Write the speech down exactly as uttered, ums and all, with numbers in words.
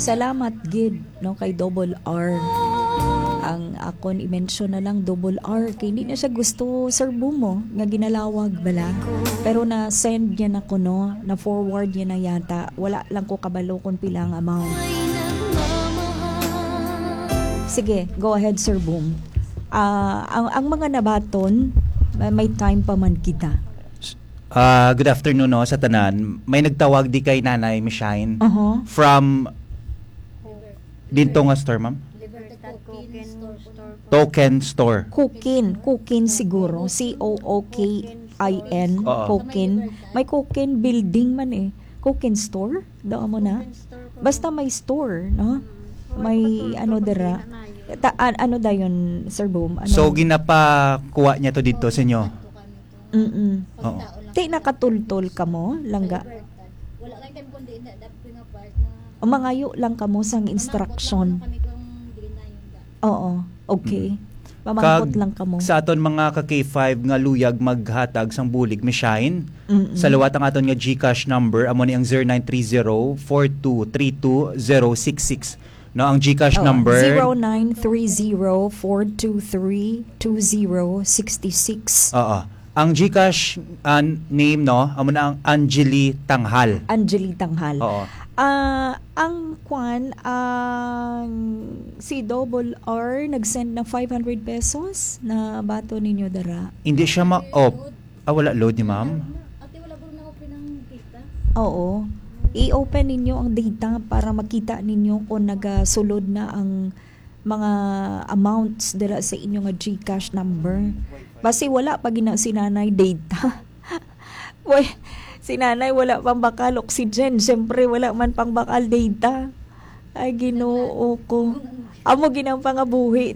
Salamat gid, no, kay Double R. Ang akon i-mention na lang Double R kay hindi na siya gusto, Sir Bumo, nga ginalawag bala. Pero na-send niya na ko, no, na-forward niya na yata. Wala lang ko kabalo kung pila ang amount. Sige, go ahead, Sir Boom. Ah, ang, ang mga nabaton, may, may time pa man kita. Ah, good afternoon, no, sa tanan. May nagtawag di kay Nanay Mishine Aha. From dito nga store, ma'am? Libertad Cokin Store. Token Store. Kukin, Kukin siguro, C O O K I N, Oo. Kukin. May Kukin building man eh. Kukin store? Doon mo na? Basta may store, no? May ano dira. Ta, an- ano dayon, Sir Boom? Ano? So, ginapakuha niya to dito sa inyo? Mm-mm. Oo. Ti nakatultol ka mo, langga? Wala lang time kundi na dapit nga part na O mangayo lang ka mo sang instruction. Kami kung di na yun da. Oo, okay. Mamangkot Kag lang ka mo. Sa aton mga ka K five nga luyag maghatag sang bulig, Mishine, Mm-mm. sa liwat ang aton nga GCash number, amo ni ang zero nine three zero four two three two zero six six. No, ang GCash Oh, number zero nine three zero four two three two zero six six. Oo. Ang GCash, ah, name, no, amo na ang Angeli Tanghal. Angeli Tanghal. Oo. Ah, ang kwan, ang si Double R nag-send na five hundred pesos na bato ninyo dara. Hindi siya ma-op. Ah, wala load ni ma'am? Ate, wala ko na open ang data. Oo. I-open ninyo ang data para makita ninyo kung nagasulod na ang mga amounts dira sa inyo nga GCash number. Basi wala pa gina si nanay data. Wala, si nanay wala pang bakal oxygen. Siyempre, wala man pang bakal data. Ay, ginoo ko. Amo ginang pangabuhi